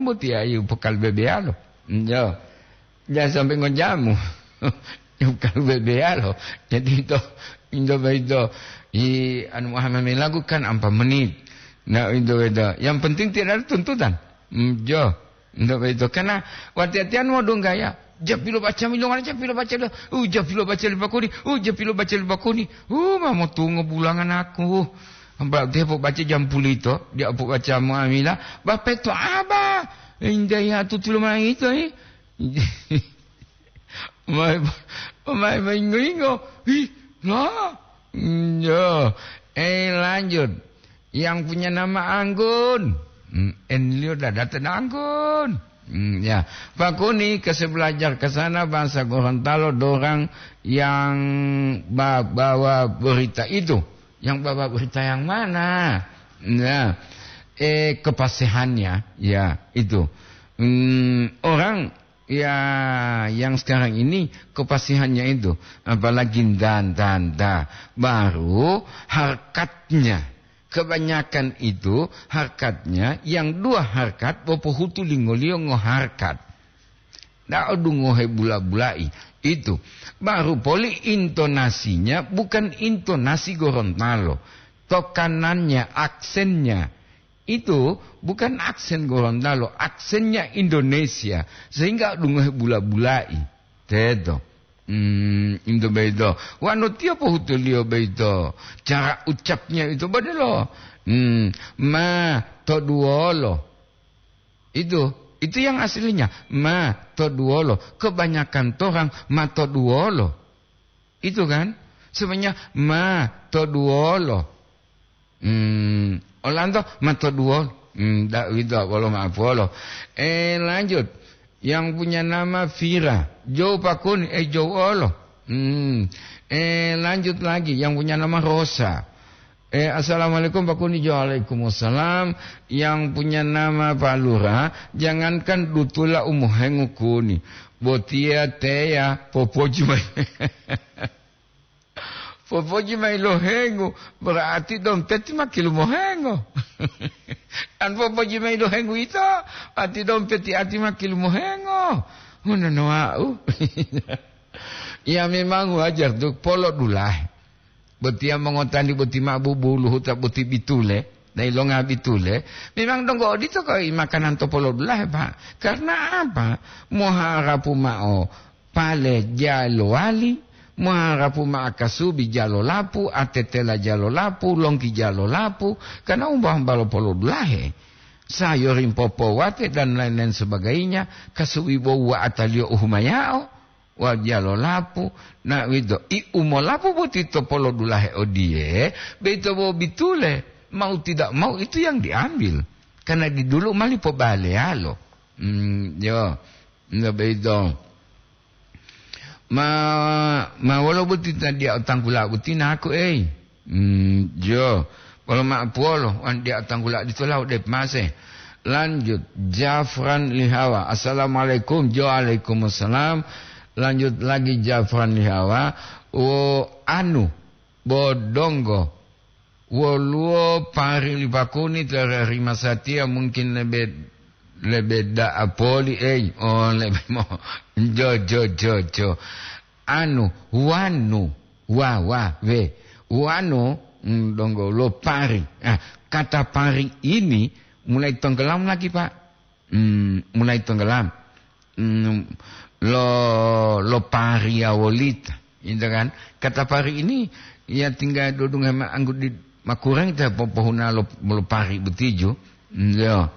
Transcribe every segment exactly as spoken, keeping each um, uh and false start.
Boti ayu pokal bebeyalo. Yo. Jangan sampai ngojamu. Pokal bebeyalo. Jadi itu, itu, itu, i, anu, Muhammad lakukan empat menit. Nah, itu, itu. Yang penting tidak ada tuntutan. Hmm, yo. Itu, itu. Karena wati-watian mau dong gaya. Japilo baca milongan, japilo baca lo. Uh, japilo baca lipakuni. Uh, japilo baca lipakuni. Uh, mau tungo bulangan aku. Ba, dia po baca jam pulito, dia po baca muamila. Bapeto aba. Indah ya tutulo manang itu, eh. Mai, mai, mai ingo-ingo. Ih, lah. Hmm, yo. Eh, lanjut. Yang punya nama Anggun. Hmm, enlio dadata Anggun. Hmm, ya. Pakuni, kasih belajar ke sana bahasa Gorontalo dorang yang ba-, bawa berita itu. Yang bawa berita yang mana? Nah, eh, kepastihannya, ya, itu. Hmm, orang, ya, yang sekarang ini kepastihannya itu, apalagi dan, dan, da. Baru harkatnya. Kebanyakan itu harkatnya, yang dua harkat, bopohutu lingoliyo ngoharkat. Ndak odungohe bula-bulai. Itu. Baru poli intonasinya bukan intonasi Gorontalo. Tokanannya, aksennya. Itu bukan aksen Gorontalo, aksennya Indonesia. Sehingga odungohe bula-bulai. Teto. Hmm, into beito. Wano tiyo pohutuliyo beito. Cara ucapnya itu bodelo. Hmm, ma toduwolo. Itu, itu yang aslinya. Ma toduwolo. Kebanyakan torang ma toduwolo. Itu kan? Sebenarnya ma toduwolo. Hmm, olanto ma toduwolo. Hmm, da, wito wolo ma'apuwolo. Eh, lanjut. Yang punya nama Vira. Jou pakuni, eh, jou olo. Hmm. Eh, lanjut lagi. Yang punya nama Rosa. Eh, assalamualaikum, Pak Kuni. Waalaikumsalam. Yang punya nama Pak Lurah, jangankan dutula u mohengu kuni. Botiya teya popoji mai. Popoji mai lo hengu, berarti dompeti ma kilumohengo. An popoji mai lo hengu ito, ati dompeti ati ma kilumohengo. Ngono wau. Ya, memang wajar tu polo dulahe. Botiya mongotani boti ma bubuluhuta boti bitule, dai longa bitule, memang donggo odito koi makanan to polo dulahe, Pak. Karena apa? Moharapu ma'o pale jalowali, moharapu ma'o kasubi jalolapu, atetela jalolapu, longki jalolapu, karena umba-umba lo polo dulahe. Sayuring popowate dan lain-lain sebagainya, kasubi bo wa'ataliyo uhumayao. Wajalo lapu, na uwito, i umolapu boti to polodulahe odiye, beito bo bitule, mau tidak mau itu yang diambil. Karena di dulu mali pobaleyalo. Hmm, yo, nggak beito. Ma, ma wolo boti tadiya otanggula boti naku, ei. Hmm, jo. Polo ma'o puwolo, wanu diya tanggula ditola ode pemase. Lanjut, Jafran Lihawa. Assalamualaikum. Jo, waalaikumsalam. Lanjut lagi Jafran Lihawa. Wo anu, bo donggo. Woluwo pari li pakuni to rima satiya mungkin lebe, lebe da'a poli, ei. Oh, lebe mo. Jo, jo, jo, jo. Anu, wanu, wa, wa, we. Wanu, mm, donggo lo pari. Ah, kata pari ini mulai tenggelam lagi, Pak. Hmm, mulai tenggelam. Hmm, lo, lo pari ya wolita, gitu kan. Kata pari ini ya tinggal dudung sama anggut di makurang kita po-, pohuna lo, lo pari betijo. Hmm, yo.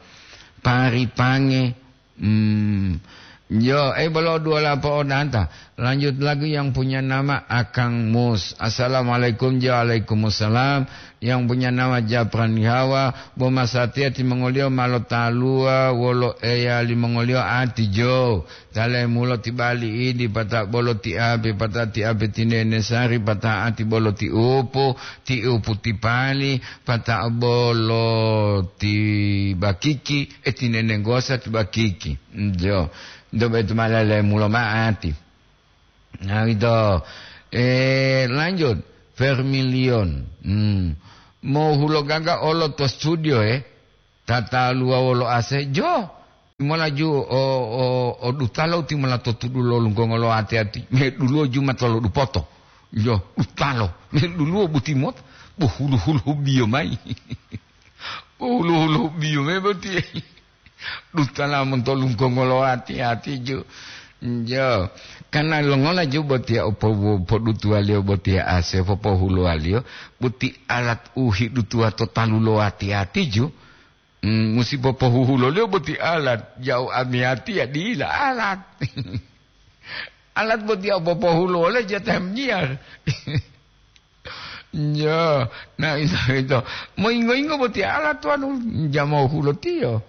Pari pange. Hmm. Yo, eh, bolo dua lapo odanta. Lanjut lagi yang punya nama Akang Mus. Assalamualaikum, waalaikumsalam. Yang punya nama Japran Yawa, bo masatiya timongoliyo ma lotaluwa wolo eya limongoliyo ati jo. Talemulo ti bali idi, pata bolo ti ape, pata ti ape ti nene sari, pata ati bolo ti upu, ti upu ti pali, pata bolo ti bakiki, e ti nene gosa ti bakiki. Jo. Dobe tu malalemulo ma ati. Nah, gitu. Eh, lanjut. Vermilion. Hmm. Mau hulo gaga olo to studio, eh. Tata luwa wolo ase. Jo. Timolaju o, o, o dutalo timola to tudu lo lunggongo lo ati-ati. Me duluwo juma tolo dupoto. Yo, dutalo. Me duluwo butimota. Bo hulu-hulu biyo mayi. Bo hulu-hulu biyo mayi boti. Dutala monto lunggongo lo ati-ati ju. Jo. Karena longola ju botiya o po-, podutuwaliyo botiya ase popohuluwaliyo. Boti alat u hidutuwa to talu lo ati-ati ju. Hmm, musi popohuhuloliyo boti alat, ja'u amiyatiya dila alat. Alat boti popohulo wole jatah miyar. Yo, na ito, ito. Moyingo-yingo boti alat wanu, jamo hulotiyo.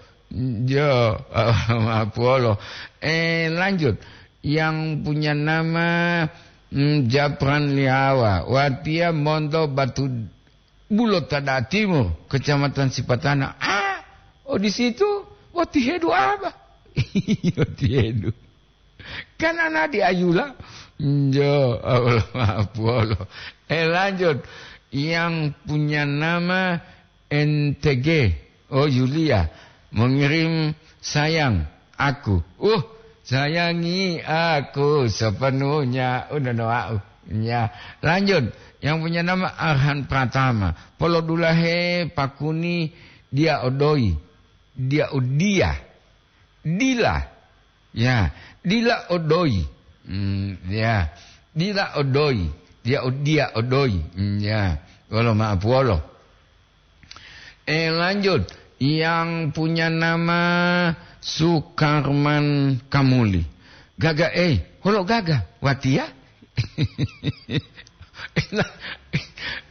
Yo, mapuolo. Eh, lanjut. Yang punya nama, hmm, Japran Liawa. Watiya monto Batu Bulo Tada Timur, Kecamatan Sipatana. Ah, oh, di situ, oh, tihedu apa? Oh, tihedu. Kan ana di Ayula. Jo, Allah maaf, Allah. Eh, lanjut. Yang punya nama N T G. Oh, Yulia. Mengirim sayang aku. Uh, sayangi aku sepenuhnya. Udah doa. Ya, lanjut. Yang punya nama Arhan Pratama. Polodulahe pakuni dia odoi. Dia odia. Dila. Ya, dila odoi. Hmm, ya. Dila odoi. Dia odia odoi. Hmm, ya. Wolo maaf wolo. Eh, lanjut. Yang punya nama Sukarman Kamuli. Gaga, eh, holo gaga? Watia?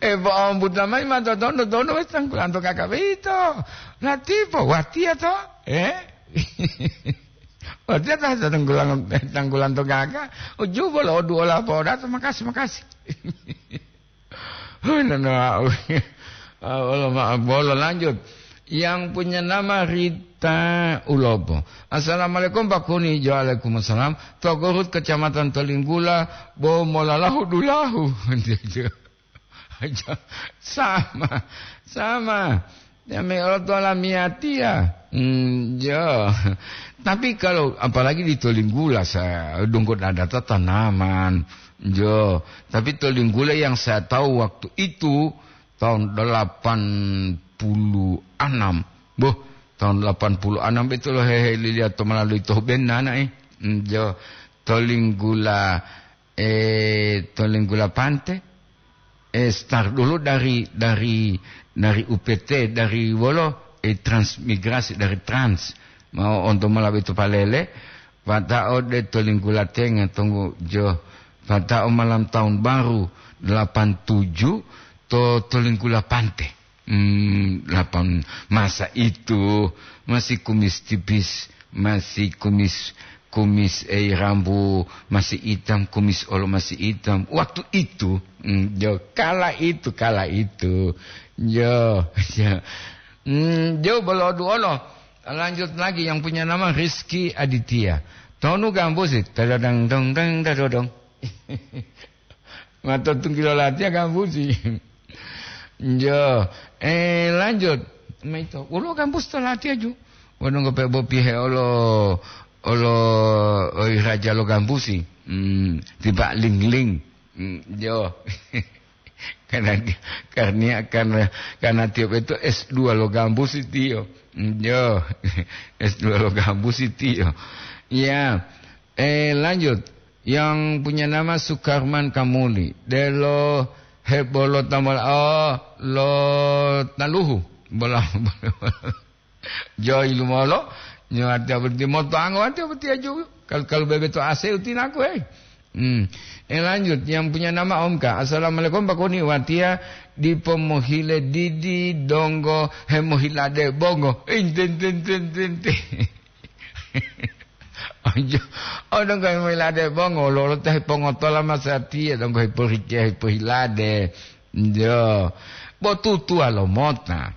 Eh, bo ombuta mai ma totondo, tondo wes tanggulanto gaga beito. Latipo, watia to? Eh? Watia ta tanggulang-, tanggulanto gaga. Ujubo lo dua lapo dato, makasih, makasih. Hui, nana, ah, wolo ma-, bolo lanjut. Yang punya nama Rita Ulopo. Assalamualaikum, Pak Kuni. Waalaikumsalam. Togurut, Kecamatan Tolinggula, bo molalahu dulahu. Sama, sama. Ya, me olo to lamiyatiya. Hmm, jo. Tapi kalau apalagi di Tolinggula, saya donggo data tanaman. Jo. Tapi Tolinggula yang saya tahu waktu itu tahun delapan puluh enam. Boh, tahun delapan puluh enam itu lo hehe lilia to melalui toh benana, eh. Hmm, jo. Tolinggula, eh, Tolinggula Pante. Eh, start dulu dari, dari, dari U P T, dari wolo, eh, transmigrasi dari Trans. Mau onto malawi to palele, pata'o de Tolinggula Tenga, tunggu jo. Pata'o malam tahun baru delapan tujuh to Tolinggula Pante. Hmm, delapan, masa itu masih kumis tipis, masih kumis, kumis, eh, rambu masih hitam, kumis olo masih hitam. Waktu itu, hmm, jo, kala itu, kala itu. Jo, jo. Hmm, jo, bolodu olo. Lanjut lagi yang punya nama Rizky Aditya. Tonu gambusi, tadadang dong dang dadodong. Mato tunggilo latiya gambusi. Jo, eh, lanjut. Maito, ulo gambus to latiya ju. Wonu ngope bopihe olo, olo, oi raja lo gambusi. Hmm, tiba ling-ling. Hmm, jo. Karena dia, karena, karena, karena tiap itu S dua lo gambusi tiyo. Hmm, jo. S dua lo gambusi tiyo. Ya. Eh, lanjut. Yang punya nama Sukarman Kamuli. Delo hebolo tamola, oh, lo taluhu. Bola, bola. Joy lumolo. Nyo ati abdi moto ango ati abdi aju. Kal-, kalu bebe to ase utinaku, eh. Hmm. Eh, lanjut. Yang punya nama Omka. Assalamualaikum, Pak Kuni. Watia dipo mohile didi donggo hemohilade bongo. Inte, inte, inte, inte, inte. Ojo, o donggo hemilade bongo, lolo ta hepongotola masatiya, donggo hepohikiya, hepohilade. Jo. Bo tutuwa lo mota.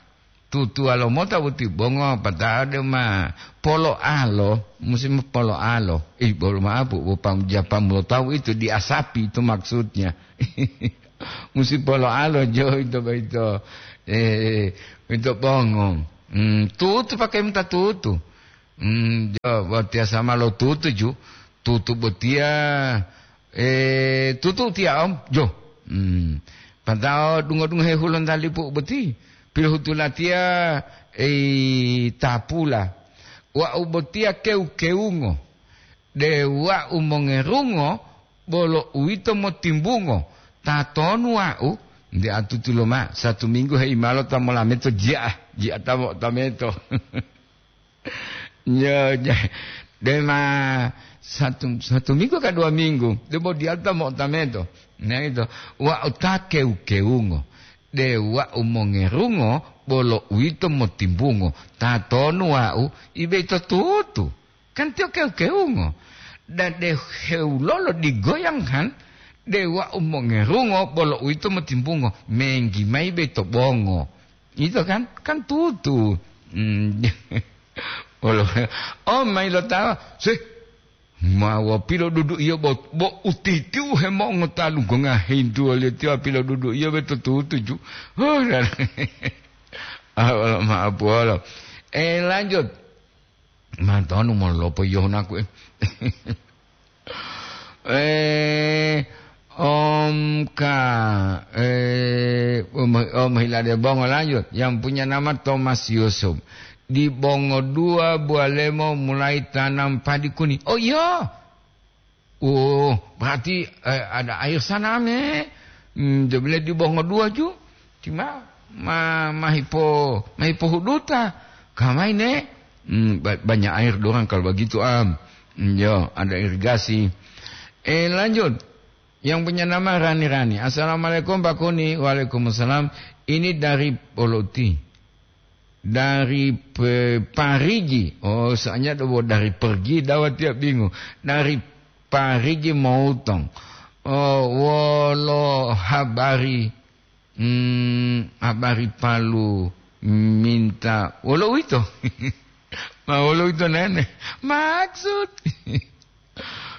Tutuwa lo mota boti bongo, pata'o de ma polo'alo, musim polo'alo. Ih, bolo ma'apu, bo pam-, japamu lo tawu itu diasapi itu maksudnya. Musim polo'alo, jo, itu, itu. Eh, itu bongo. Hmm, tutu pakai mota tutu. Hmm, jo, watiya sama lo tutu ju, tutu botiya, eh, tutu tiya om, jo. Hmm. Patao dungo-dungo he hulontalipu boti, pilohutu latiya, eh, tapula. Wa'u botiya kewu-kewungo, de wa'u mongerungo, bolo uwito motimbungo. Tatonu wa'u? Nde atutu loma, satu minggu heimalo ta molameto ji'a, ji'a ta mo-, tameto. Nyo, nyo. Dema satu, satu minggu ka dua minggu, debo diyalu ta mo'otameto. Nah, itu. Wa'u ta kewu-kewungo. De wa'u mongerungo, bolo uwito motimbungo. Tatonu wa'u? Ibe ito tutu. Kan tiyo kewu-kewungo. Dan de hewulolo digoyang han, de wa'u mongerungo, bolo uwito motimbungo. Menggi mayi be to bongo. Ito kan? Kan tutu. Hmm. Olo, oh, mayi lo tawa, sih, ma wa pilodudu iyo bo, bo utiti u hemongo talu gonga hintu waliyo tiwa pilodudu iyo be to tutu ju. Oh, dan, ah, olo, maaf, olo. Eh, lanjut. Mantonu molopo yohunaku, eh. Eh, Om Ka, eh, Om, Om Hilade Bongo lanjut. Yang punya nama Thomas Yusuf. Di Bongo dua, Bualemo mulai tanam padi kuning. Oh, iya. Oh, berarti, eh, ada air sana, me. Hmm, dia bilang di Bongo dua ju. Cuma ma-, mahipo, mahipohuduta. Kamai, ne? Hmm, ba-, banyak air dorang kalau begitu, am. Hmm, yo, ada irigasi. Eh, lanjut. Yang punya nama Rani-Rani. "Assalamualaikum, Pak Kuni." "Waalaikumsalam." Ini dari Poloti. Dari Pe-, Parigi. Oh, soalnya do-, dari pergi, dawat tiap bingung. Dari Parigi Moutong. Oh, wolo habari, hmm, habari Palu minta. Wolo uwito? Ma wolo uwito nene? Maksud.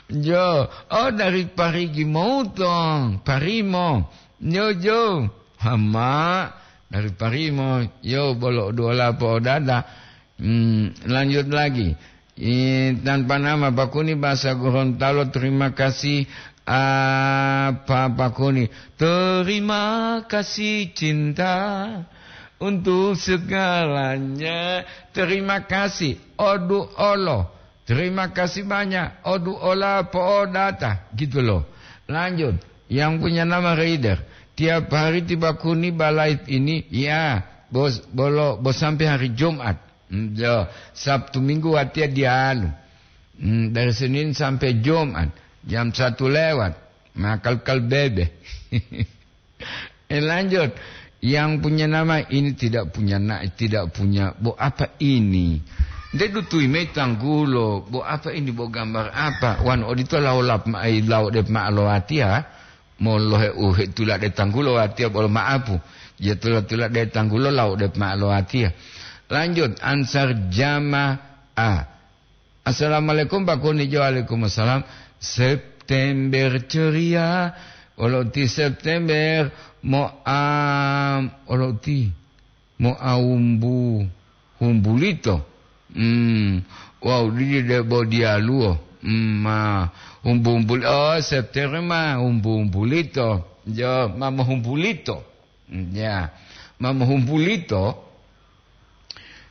Jo, oh, dari Parigi Moutong, Parimo. Jo, jo. Hama, dari Parimo. Yo, bolo duola po'odada. Hmm, lanjut lagi. I, tanpa nama, Pak Kuni, bahasa Gorontalo, terima kasih. Apa, Pak Kuni? Terima kasih cinta untuk segalanya. Terima kasih. Odu olo. Terima kasih banyak. Odu ola po'odata. Gitu loh. Lanjut. Yang punya nama Raider. Tiap hari tiba Kuni ba live ini. Ya, bos, bolo, bos sampai hari Jumat. Hmm, yo, Sabtu Minggu watiya diyalu. Hmm, dari Senin sampai Jumat. Jam satu lewat. Makal-kal bebe. Eh, lanjut. Yang punya nama ini tidak punya na-, tidak punya, bo apa ini? Nde dutui mayi tanggulo, bo apa ini, bo gambar apa? Wan odito laolap ma-, ai, lao dep ma'alowatiya, molohe uhe tulade tanggulo watiya bolo ma'apu. Ya tula-tulade tanggulo lao dep ma'alowatiya. Lanjut, Ansar Jama A. "Assalamualaikum, Pak Kuni." Jo, waalaikumsalam. September ceria, olo ti September moam, olo ti moaumbu humbulito. Hmm, wau didi debo diyaluwo. Hmm, ma humbu-humbuli-, oh, September ma humbu-humbulito. Jo, ma mohumbulito. Hmm, ya, ma mohumbulito.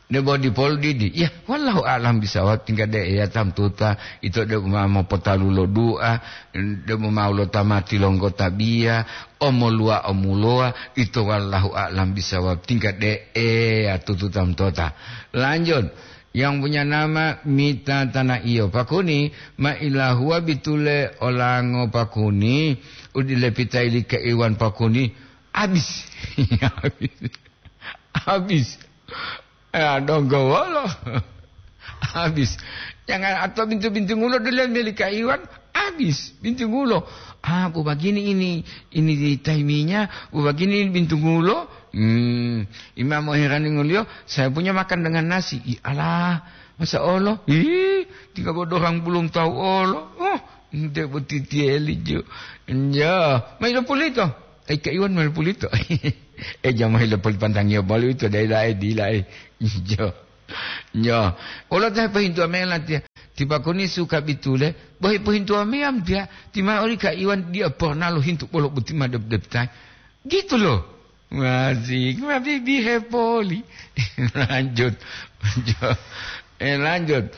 Debo dipolu didi. Ya, wallahu a'lam bisawab, tingga de eya tamtuta, ito de ma mopotalu lo du'a, de ma lo tamati longgo tabiya, omoluwa omulowa, ito wallahu a'lam bisawab, tingga de eya tutu tamtota. Lanjut, yang punya nama Mita Tanah Iyo. Pak Kuni, ma ilahuwa bitule olango Pak Kuni, udile pitaili ke iwan Pak Kuni, abis. Abis. Habis. Ya, donggo wolo. Habis. Jangan atau bintu-bintungulo dulu milik Kak Iwan. Habis. Bintungulo. Ah, bu begini ini. Ini di taiminya. Bu begini ini bintungulo. Hmm. Imam Moherani ngulio, "Saya punya makan dengan nasi." Ih, alah. Masa olo? Ih, tinggal bodoh orang belum tahu olo. Oh, ente boti tieli jo. Ya, mai lo pulito. Eh, Kak Iwan mai lo pulito. Eh, jamaah lo pulito pantangnya balu itu dai dai di lai. Jo. Yo, wolo ta hepohintuwa mayi latiya, ti Pakuni suka bitule, bo hepohintuwa mayi amtiya, ti ma oli ka Iwan dia porna lohintu bolo boti ma dep-deptai. Gitu loh. Masih, ma bibi hepoli. Lanjut. Jo, eh, lanjut.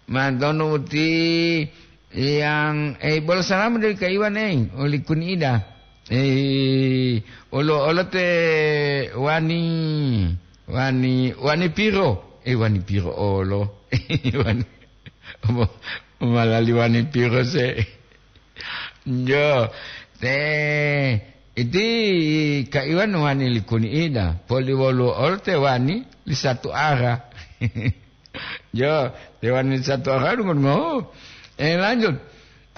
Mantonu uti yang, eh, bolo salam dari ka Iwan, eh, oli Kuni Ida. Eh, olo, olo te wani, wani, wani piro? Eh, wani piro olo? Wani, mo-, malali wani piro se? Jo, te, iti ka Iwan wani li Kuni Ida, poli wolu olo te wani li satu ara. Jo, te wani li satu ara dungo-dungo. Eh, lanjut.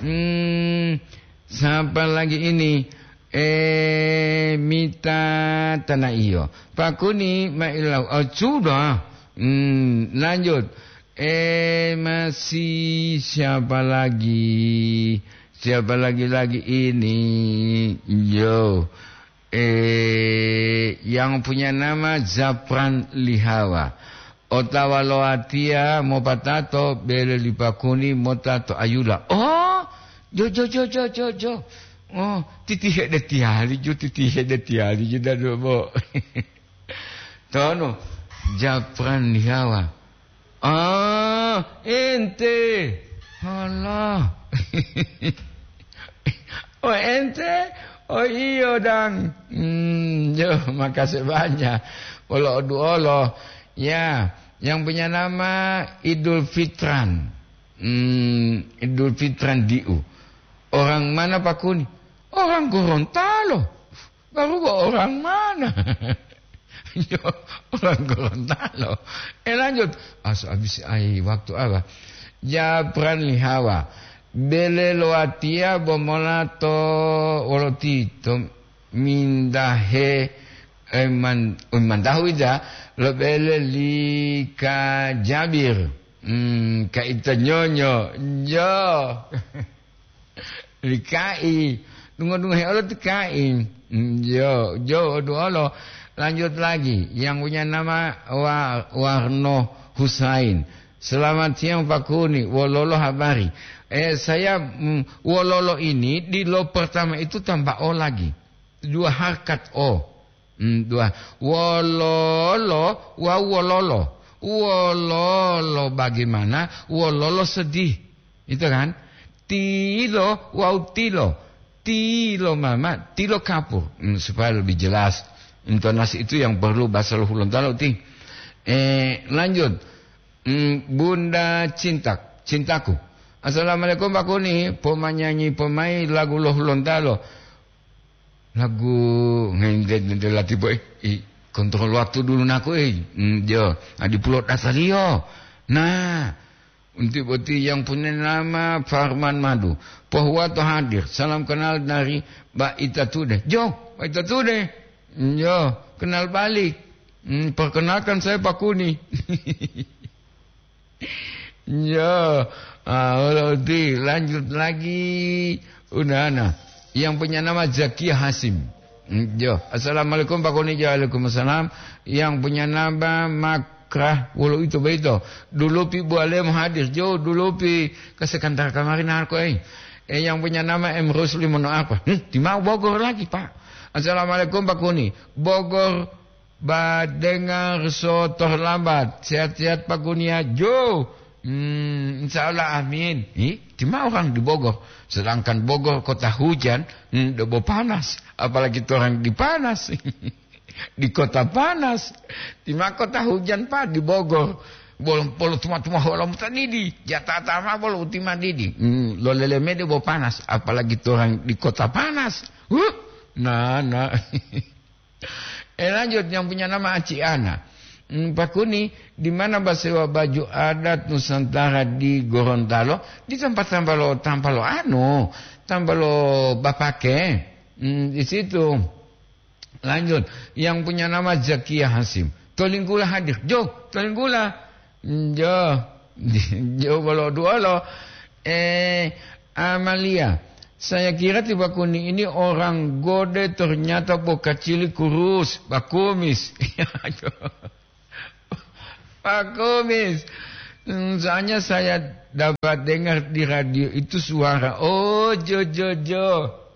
Hmm, siapa lagi ini? Eh, Mita Tanaiyo. Pakuni mailau. Oh, sudah. Hmm, lanjut. Eh, masih siapa lagi? Siapa lagi, lagi ini? Yo. Eh, yang punya nama Zapran Lihawa. Otawa lo watiya mopatato bele li Pakuni mota to Ayula. Oh, jo, jo, jo, jo, jo, jo. Oh, titihe de tiyali jo, titihe de tiyali jo dadu bo. Tono, Japran Lihawa. Ah, ente. Halah. Oh, ente? Oh, iyo, dang. Hmm, yo, makasih banyak. Wolo oduolo. Ya, yang punya nama Idul Fitran. Hmm, Idul Fitran diu. Orang mana, Pakuni? Orang Gorontalo. Baru orang mana? Yo, orang Gorontalo. Eh, lanjut. Asu habis ai waktu apa? Japran Lihawa. Bele lo watiya bomola to wolotito mindahe, eh, man-, mandahu ija lo bele li ka Jabir. Hmm, ka ito nyonyo. Jo. Lika'i, dungo-dungohe olo tika'i. Mm, yo, jo, duolo. Lanjut lagi, yang punya nama Wa-, Warno Husain. Selamat siang, Pak Kuni. Wololo habari? Eh, saya, mm, wololo ini di lo pertama itu tambah o lagi. Dua harkat o. Hmm, dua. Wololo wawu wololo. Wololo bagaimana? Wololo sedih. Itu kan? Tilo wawu tilo. Tilo mama, tilo kapur. Hmm, supaya lebih jelas. Intonasi itu yang perlu bahasa lo Hulontalo ti. Eh, lanjut. Hmm, Bunda Cintak, cintaku. Assalamualaikum, Pak Kuni. Pomanyanyi pomai lagu lo Hulontalo. Lagu ngente-ngente lati boy. I, kontrol waktu dulu naku, eh. Hmm, jo, adi pulo dasaliyo. Nah, untuk boti yang punya nama Farman Madu. Pohuwato hadir. Salam kenal dari Mbak Ita Tude. Jo, Mbak Ita Tude. Hmm, jo, kenal balik. Hmm, perkenalkan saya Pak Kuni. Yo, ah, wala uti, lanjut lagi. Unana, yang punya nama Zakia Hasim. Mm, yo, assalamualaikum, Pak Kuni. Waalaikumsalam. Yang punya nama Makrah, wolo ito beito. Dulupi bualem hadir. Jo, dulupi ke sekantar kamari narko, eh. Eh, yang punya nama M Rusli mono apa? Hmm, di mau Bogor lagi, Pak. Assalamualaikum, Pak Kuni. Bogor Ba dengar so terlambat. Sehat-sehat Pak Kuni ya, Jo. Hmm, insya Allah, amin. Ih, di ma orang di Bogor? Sedangkan Bogor kota hujan, hmm, debo panas. Apalagi torang di panas. Di kota panas. Di ma kota hujan, Pak, di Bogor? Bolom polo tuma-tuma holamu tanidi. Jatata ma bolo utima didi. Hmm, lo leleme debo panas. Apalagi torang di kota panas. Huh, nah, nah. Eh, lanjut, yang punya nama Aci Ana. Hmm, Pak Kuni, di mana basewa baju adat Nusantara di Gorontalo? Di tempat tambah lo, tambah lo anu, tambah lo bapake. Hmm, di situ. Lanjut, yang punya nama Zakia Hasim. Tolinggula hadir. Jo, Tolinggula. Jo, jo bolo duolo. Eh, Amalia, saya kira ti Pak Kuni ini orang gode, ternyata bokacili kurus, bakumis. Pak Kumis, mm, soalnya saya dapat dengar di radio itu suara, oh, jo, jo, jo.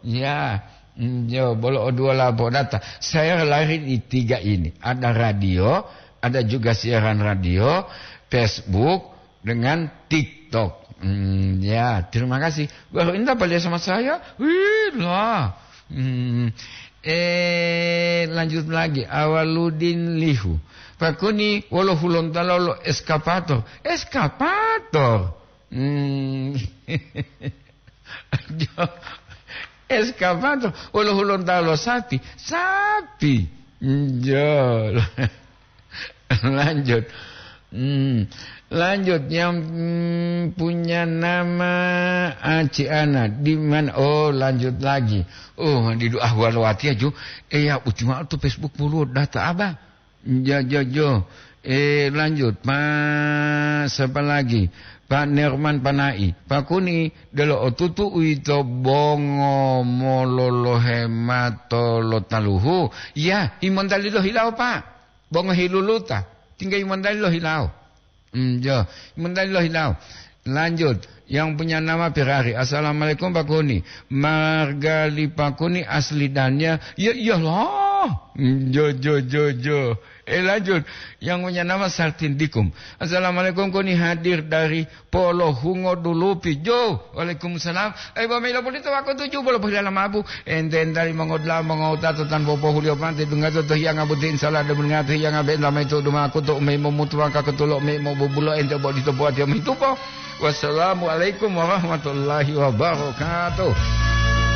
Ya, mm, jo, bolo o dua lapo data. Saya lahir di tiga ini. Ada radio, ada juga siaran radio, Facebook, dengan TikTok. Hmm, ya, terima kasih. Baru ini dapat lihat sama saya. Wih, lah. Hmm. Eh, lanjut lagi. Awaludin Lihu. Pakuni, wolo hulontalo lo eskapator. Eskapator. Hmm. Jo, eskapator. Wolo hulontalo lo sapi. Sapi. Jo. Lanjut. Hmm. Lanjut, yang, hmm, punya nama Aci Ana. Di mana? Oh, lanjut lagi. Oh, di doa walo wati aju. Eh, ya, uti ma'o to Facebook puluh data apa? Jo, jo, jo. Eh, lanjut. Pak, siapa lagi? Pak Nerman Panai. Pakuni, delo otutu uito bongo mololohe mato lo taluhu. Ya, himontali lo hilawo, Pak. Bongo hiluluta. Tingga himontali lo hilawo. Hmm, jo. Himontali lo hilawo. Lanjut. Yang punya nama Ferrari. Assalamualaikum, Pak Kuni. Marga li Pak Kuni asli Dania. Ya iyalah. Hmm, jo, jo, jo, jo. Eh, lanjut. Yang punya nama Sartin Dikum. Assalamualaikum, Kuni hadir dari Polo Hungo Dulupi. Jo. Waalaikumsalam. Eh, bo melo pulito wako tuju bolo pohilala mabu. Ente-entali mongodula'a, mongowutato tanpa pohuliyo mate, dungato to hiyanga boti, insala de bungato hiyanga be lama itu dumaku to umei momutu maka ketulo mei mobubulo ente bo dito buat yo mitupo. Wassalamualaikum warahmatullahi wabarakatuh.